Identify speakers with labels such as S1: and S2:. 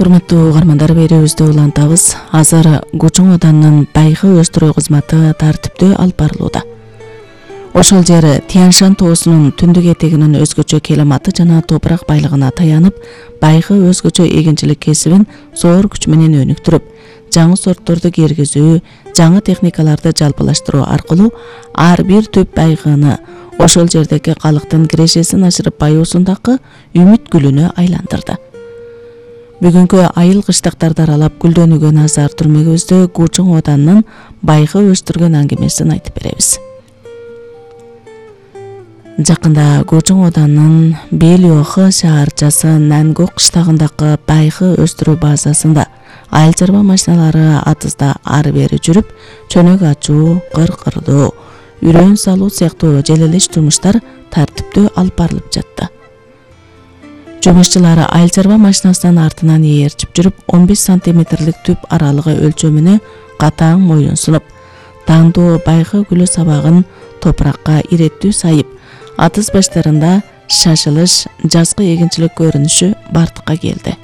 S1: Урматтуу угармандар, берүүбүздү улантабыз. Азыр Кучуң Оданынын байкы өстүрүү кызматы тартиптүү алып барылууда. Ошол жер Тянь-Шань тоосунун түндүк этегинин өзгөчө климаты жана топурак байлыгына таянып, байкы өзгөчө эгинчилик кесибин зор күч менен өнүктүрүп, жаңы сортторду киргизүү, жаңы техникаларды жалпылаштыруу аркылуу ар бир түп байгыны ошол жердеги калктын кирешесин ашырып баюусундагы үмүт гүлүнө айландырды. Бүгүнкү айыл кыштактарды аралап гүлдөнүүгө назар түрмөгүбүздө Кучуң Оданынын байкы өстүргөн аңгемесин айтып беребиз. Жакында Кучуң Оданынын Белиохы шаарчасы Нангок кыштагындагы байкы өстүрүү базасында айыл чарба машиналары атызда ары бери жүрүп, чөнөк ачуу, кыр-кырдоо, үрөөн салуу сыяктуу желелеш жумуштар тартиптүү алып барылып жатты. Жумушчулар айыл чарба машинасынын артынан ээрчип жүрүп, 15 сантиметрлик түп аралыгы өлчөмүнө катаң моюн сунуп, таңдуу байкы гүлү сабагын топуракка иреттүү сайып, атыз баштарында шашылыш, жазгы эгинчилик көрүнүшү бардыкка келди.